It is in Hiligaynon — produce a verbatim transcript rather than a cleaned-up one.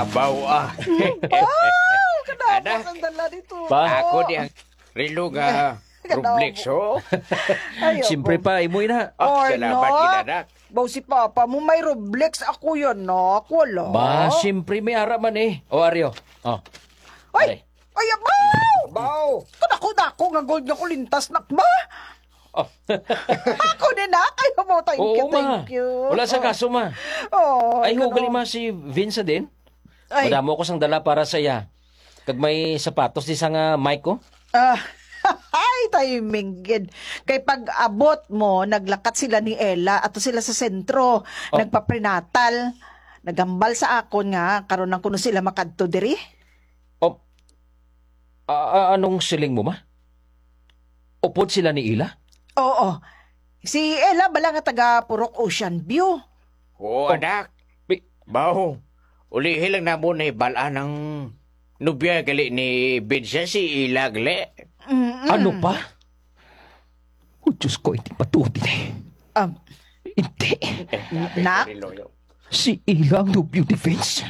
Abaw, ah. Wow! Kadamo Anak. Sang dala dito. Pa? Ako di ang relo nga Kadamo. Rolex, oh. Ay, Siyempre opo. Pa, imo na. Oh, Or salamat, not? Gid, anak. Baw si Papa mo may Rolex, ako yan, nak. Wala. Ba, siyempre may ara man eh. O, Aryo. Oh. Ay! Are. Ay, abaw! Abaw! Kadako-dako nga gold nga kulintas, nak ba? Oh. Ako din, nak. Ay, mo, thank Oo, you, ma. Thank you. Wala sa Oh. Kaso, ma. Oh, Ay, ganun. Hugali, ma, si Vince din. Ay. Madamo ko sang dala para sa iya. Kag may sapatos di sa nga mic ko. Ah, ay, timing gid. Kay pag abot mo, naglakat sila ni Ella, ato sila sa sentro, Oh. Nagpaprenatal. Naghambal sa akon nga karon lang kuno sila makadto diri. Oh, a- a- anong siling mo, ma? Upod sila ni Ila? Oo. Si Ella bala nga taga Purok Ocean View. Oo, Oh, anak. Bi- Baw, ulihi lang namo nahibal-an ang nobya gali ni Vince, si Ila gali. Mm-mm. Ano pa? Oh, Diyos ko, hindi matuod ini. Um, Hindi. Eh, Nak? Sabi ko rin, Loyo. Si Ila ang nobyo ni Vince.